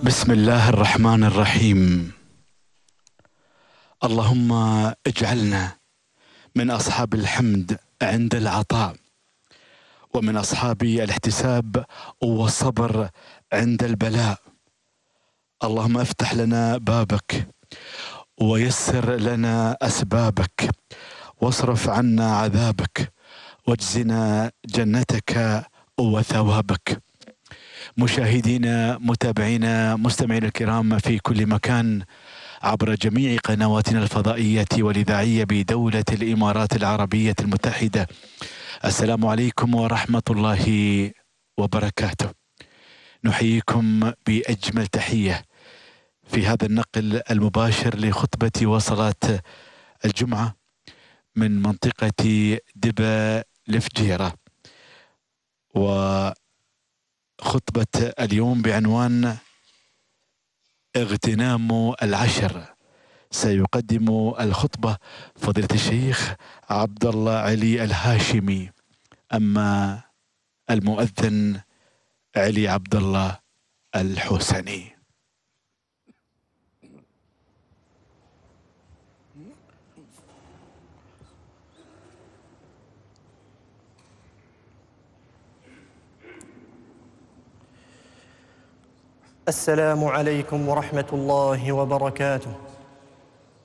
بسم الله الرحمن الرحيم. اللهم اجعلنا من أصحاب الحمد عند العطاء، ومن أصحاب الاحتساب والصبر عند البلاء. اللهم افتح لنا بابك ويسر لنا أسبابك، واصرف عنا عذابك، واجزنا جنتك وثوابك. مشاهدينا، متابعينا، مستمعينا الكرام في كل مكان عبر جميع قنواتنا الفضائية والإذاعية بدولة الإمارات العربية المتحدة، السلام عليكم ورحمة الله وبركاته. نحييكم بأجمل تحية في هذا النقل المباشر لخطبة وصلاة الجمعة من منطقة دبا الفجيرة، وخطبة اليوم بعنوان اغتنام العشر. سيقدم الخطبة فضيلة الشيخ عبد الله علي الهاشمي، أما المؤذن علي عبد الله الحسني. السلام عليكم ورحمة الله وبركاته.